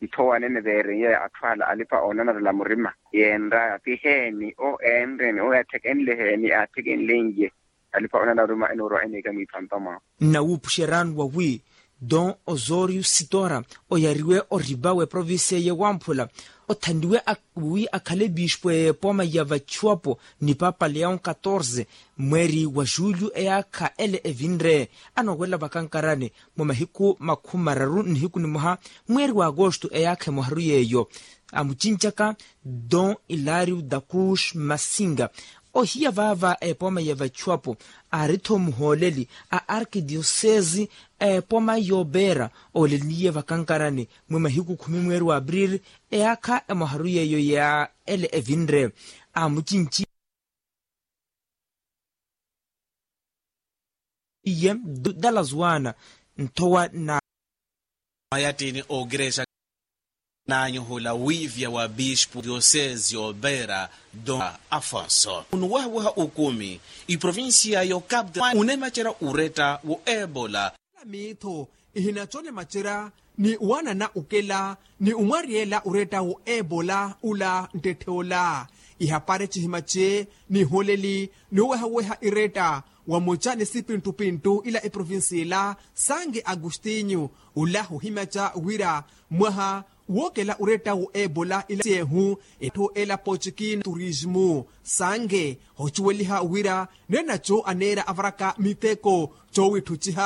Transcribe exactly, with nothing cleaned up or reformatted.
Itthowa anene veereiye atthu ala alipa oonanarela murima yeenraya ti heeni o eenreeni o yaathekenle heeni aathekenleiye. Alipa oonanarela murima enoorwa eneeka mwiiphampa mwawe. Nnawuupuxeryaani wawi don osorio sitora oyariwe oripa w'eprovincia y'ewamphula othaniwe wi akhale bispo y'epooma ya vachuapo ni papa leon catorze mweeri wa julio eyaakha ele evinre anoowelela vakankarani mwa mahiku makhumi mararu nnihiku nimoha mweeri wa agosto eyaakha emoharu yeeyo amucincaka don ilario dakus masinga ohiya vaava epooma ya vachuapo aari-tho muhooleli a arkidioseesi a epooma y'opeera ooleliye vakankarani mwi mahiku khumi mweeri wa april eyaakha emoharu yeeyo ya ele evinre amucinci iye dallas wana nthowa na mwayattini ookirexa naanyu hula wiivya wa bispo diosesi y'opeera don afonso onuwehaweha okumi iprovincia y'ocapital unemacerya uretta w'ebola miitho ihinacola emacerya ni wanana okela ni omwariyela oretta w'ebola ola nttetthe ola ihapari cihimace niholeli noowehaweha iretta wa muca ni sipittupittu ila eprovincia ila sange agostinho ola hohimaca wira mwaha wookela oretta w'ebola ila siehu etthu ela pochikina turismu sange hocuweliha wira nenaco aneera avaraka miteko coowitthuciha